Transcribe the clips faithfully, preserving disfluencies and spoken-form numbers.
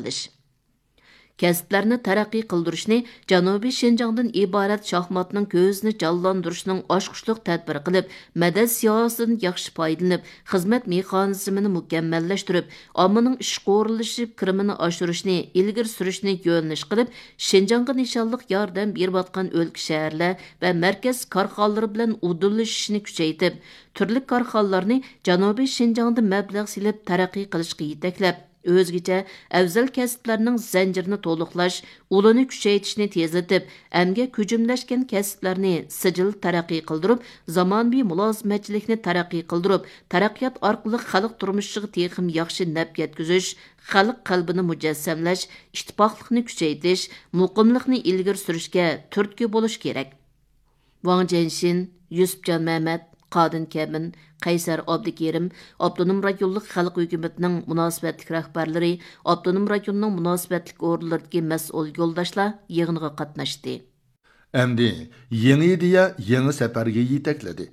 ئىشلىتىش. كەسىپلەرنى تەرەققىي قىلدۇرۇشنى جەنۇبىي شىنجاڭدىن ئىبارەت شاھماتنىڭ كۆزىنى جانلاندۇرۇشنىڭ ئاچقۇچلۇق تەدبىرى قىلىپ، مەدەت سىياسىتىدىن ياخشى پايدىلىنىپ، خىزمەت مېخانىزمىنى مۇكەممەللەشتۈرۈپ، ئاممىنىڭ ئىشقا ئورۇنلىشىپ كىرىمىنى ئاشۇرۇشنى ئىلگىرى سۈرۈشنى يۆنىلىش قىلىپ، شىنجاڭغا نىشانلىق ياردەم بېرىۋاتقان ئۆلكە، شەھەرلەر ۋە مەركەز كارخانىلىرى بىلەن ئۇدۇللىشىشنى كۈچەيتىپ، تۈرلۈك كارخانىلارنى جەنۇبىي شىنجاڭدا مەبلەغ سېلىپ تەرەققىي قىلىشقا يېتەكلەپ، ئۆزگىچە ئەۋزەل كەسىپلەرنىڭ زەنجىرىنى تولۇقلاش، ئۇلىنى كۈچەيتىشنى تېزلىتىپ، ئەمگەك ھۆجۈملەشكەن كەسىپلەرنى سىجىل تەرەققىي قىلدۇرۇپ، زامانىۋى مۇلازىمەتچىلىكنى تەرەققىي قىلدۇرۇپ، تەرەققىيات ئارقىلىق خەلق تۇرمۇشىغا تېخىمۇ ياخشى نەپ يەتكۈزۈش، خەلق قەلبىنى مۇجەسسەملەش، ئىتتىپاقلىقنى كۈچەيتىش، مۇقىملىقنى ئىلگىرى سۈرۈشكە تۈرتكە بولۇش كېرەك. ۋاڭ جيەنشىن، يۈسۈپجان مەمەت، قادىن كەمىن، قەيسەر ئابدۇكېرىم، ئاپتونوم رايونلۇق خەلق ھۆكۈمىتىنىڭ مۇناسىۋەتلىك رەھبەرلىرى، ئاپتونوم رايوننىڭ مۇناسىۋەتلىك ئورۇنلىرىدىكى مەسئۇل يولداشلار يىغىنغا قاتناشتى. ئەمدى يېڭى ئىدىيە يېڭى سەپەرگە يېتەكلىدى.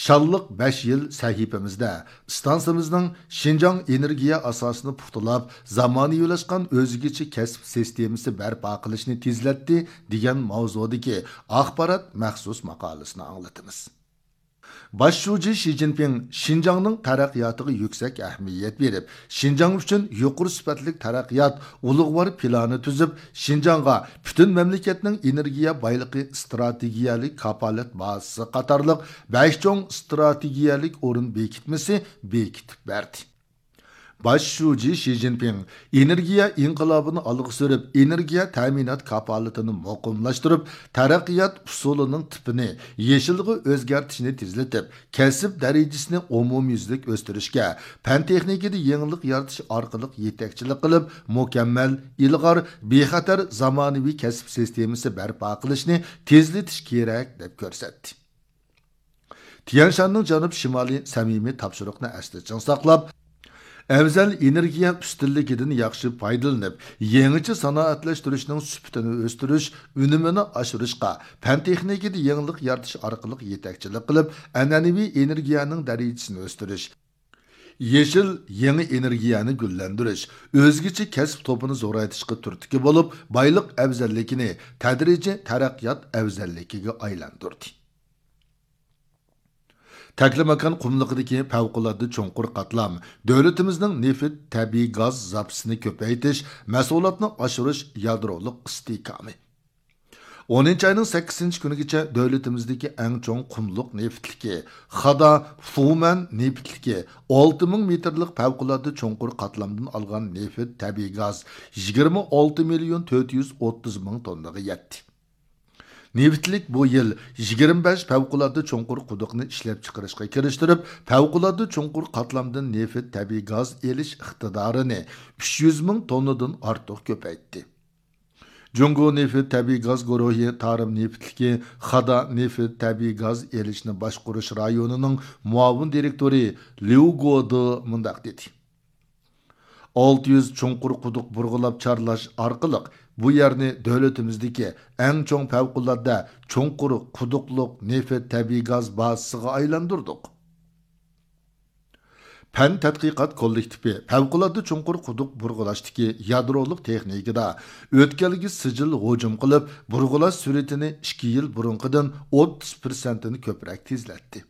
شانلىق بەش يىل سەھىپىمىزدە ئىستانسىمىزنىڭ شىنجاڭ ئېنېرگىيە ئاساسىنى پۇختىلاپ، زامانىۋىلاشقان ئۆزگىچە كەسىپ سىستېمىسى بەرپا قىلىشنى تېزلەتتى دېگەن ماۋزۇدىكى ئاخبارات مەخسۇس ماقالىسىنى ئاڭلىتىمىز. باش شۇجى شى جىنپىڭ شىنجاڭنىڭ تەرەققىياتىغا يۈكسەك ئەھمىيەت بېرىپ، شىنجاڭ ئۈچۈن يۇقىرى سۈپەتلىك تەرەققىيات ئۇلۇغۋار پىلانى تۈزۈپ، شىنجاڭغا پۈتۈن مەملىكەتنىڭ ئېنېرگىيە بايلىقى ئىستراتېگىيەلىك كاپالەت بازىسى قاتارلىق بەش چوڭ ئىستراتېگىيەلىك ئورۇن بېكىتمىسى بېكىتىپ بەردى. باش شۇجى شى جىنپىڭ ئېنېرگىيە ئىنقىلابىنى ئالغا سۈرۈپ، ئېنېرگىيە تەمىنات كاپالىتىنى مۇقىملاشتۇرۇپ، تەرەققىيات ئۇسۇلىنىڭ تىپىنى يېشىلغا ئۆزگەرتىشنى تېزلىتىپ، كەسىپ دەرىجىسىنى ئومۇميۈزلۈك ئۆستۈرۈشكە، پەن تېخنىكىدا يېڭىلىق يارىتىش ئارقىلىق يېتەكچىلىك قىلىپ، مۇكەممەل، ئىلغار، بىخەتەر زامانىۋى كەسىپ سىستېمىسى بەرپا قىلىشنى تېزلىتىش كېرەك، دەپ كۆرسەتتى. تيەنشاننىڭ جەنۇب شىمالىي سەمىمىي تاپشۇرۇقنى ئەستە چىڭ ساقلاپ، ئەۋزەل ئېنېرگىيە ئۈستۈنلۈكىدىن ياخشى پايدىلىنىپ، يېڭىچە سانائەتلەشتۈرۈشنىڭ سۈپىتىنى ئۆستۈرۈش، ئۈنۈمىنى ئاشۇرۇشقا، پەن تېخنىكىدا يېڭىلىق يارىتىش ئارقىلىق يېتەكچىلىك قىلىپ، ئەنئەنىۋى ئېنېرگىيەنىڭ دەرىجىسىنى ئۆستۈرۈش، يېشىل يېڭى ئېنېرگىيەنى گۈللەندۈرۈش، ئۆزگىچە كەسىپ توپىنى زورايتىشقا تۈرتكە بولۇپ، بايلىق ئەۋزەللىكىنى تەدرىجىي تەرەققىيات ئەۋزەللىكىگە ئايلاندۇردى. تەكلىماكان قۇملۇقىدىكى پەۋقۇلئاددە چوڭقۇر قاتلام دۆلىتىمىزنىڭ نېفىت، تەبىئىي گاز زاپىسىنى كۆپەيتىش، مەھسۇلاتنى ئاشۇرۇش يادرولۇق ئىستىھكامى. ئونىنچى ئاينىڭ سەككىزىنچى كۈنىگىچە دۆلىتىمىزدىكى ئەڭ چوڭ قۇملۇق نېفىتلىكى، خادا فۇمەن نېفىتلىكى، ئالتە مىڭ مېتىرلىق پەۋقۇلئاددە چوڭقۇر قاتلامدىن ئالغان نېفىت، تەبىئىي گاز يىگىرمە ئالتە مىليون تۆت يۈز ئوتتۇز مىڭ توننىغا يەتتى. نېفىتلىك بۇ يىل يىگىرمە بەش پەۋقۇلئاددە چوڭقۇر قۇدۇقنى ئىشلەپچىقىرىشقا كىرىشتۈرۈپ، پەۋقۇلئاددە چوڭقۇر قاتلامدىن نېفىت، تەبىئىي گاز ئېلىش ئىقتىدارىنى ئۈچ يۈز مىڭ توننىدىن ئارتۇق كۆپەيتتى. جۇڭگو نېفىت، تەبىئىي گاز گۇرۇھى تارىم نېفىتلىكى خادا نېفىت، تەبىئىي گاز ئېلىشنى باشقۇرۇش رايونىنىڭ مۇئاۋىن دىرېكتورى ليۇ گودې مۇنداق دېدى: ئالتە يۈز چوڭقۇر قۇدۇق بۇرغىلاپ چارلاش ئارقىلىق بۇ يەرنى دۆلىتىمىزدىكى ئەڭ چوڭ پەۋقۇلئاددە چوڭقۇر قۇدۇقلۇق نېفىت، تەبىئىي گاز بازىسىغا ئايلاندۇردۇق. پەن تەتقىقات كوللېكتىپى پەۋقۇلئاددە چوڭقۇر قۇدۇق بۇرغىلاشتىكى يادرولۇق تېخنىكىدا ئۆتكەلگە سىجىل ھۇجۇم قىلىپ، بۇرغىلاش سۈرئىتىنى ئىككى يىل بۇرۇنقىدىن ئوتتۇز پىرسەنتىنى كۆپرەك تېزلەتتى.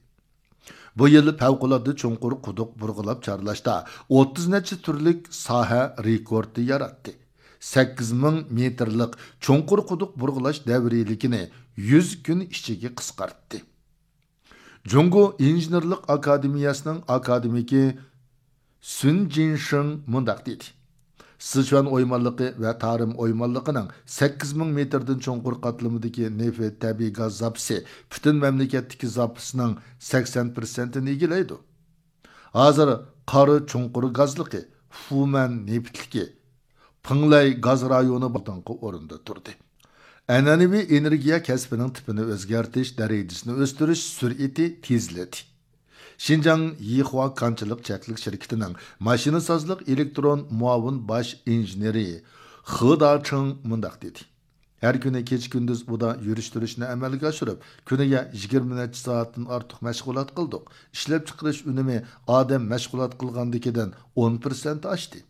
بۇ يىل پەۋقۇلئاددە چوڭقۇر قۇدۇق بۇرغىلاپ چارلاشتا ئوتتۇز نەچچە تۈرلۈك ساھە رېكورتى ياراتتى. سەككىز مىڭ مېتىرلىق چوڭقۇر قۇدۇق بۇرغىلاش دەۋرىيلىكىنى يۈز كۈن ئىچىگە قىسقارتتى. جۇڭگو ئىنژېنېرلىق ئاكادېمىيەسىنىڭ ئاكادېمىكى سۈن جىنشېڭ مۇنداق دېدى: سىچۈەن ئويمانلىقى ۋە تارىم ئويمانلىقىنىڭ سەككىز مىڭ مېتىردىن چوڭقۇر قاتلىمىدىكى نېفىت، تەبىئىي گاز زاپىسى پۈتۈن مەملىكەتتىكى زاپىسنىڭ سەكسەن پىرسەنتىنى ئىگىلەيدۇ. ھازىر قارا چوڭقۇر گازلىقى، فۇمەن نېفىتلىكى، پىڭلەي گاز رايونى ئالدىنقى ئورۇندا تۇردى. ئەنئەنىۋى ئېنېرگىيە كەسپىنىڭ تىپىنى ئۆزگەرتىش دەرىجىسىنى ئۆستۈرۈش سۈرئىتى تېزلىدى. شىنجاڭ يىخۇا كانچىلىق چەكلىك شىركىتىنىڭ ماشىنىسازلىق ئېلېكترون مۇئاۋىن باش ئىنژېنېرى خې داچىڭ مۇنداق دېدى: ھەر كۈنى كېچە-كۈندۈز ئۇدا يۈرۈشتۈرۈشنى ئەمەلگە ئاشۇرۇپ، كۈنىگە يىگىرمە نەچچە سائەتتىن ئارتۇق مەشغۇلات قىلدۇق. ئىشلەپچىقىرىش ئۈنۈمى ئادەم مەشغۇلات قىلغاندىكىدىن ئون پىرسەنت ئاشتى.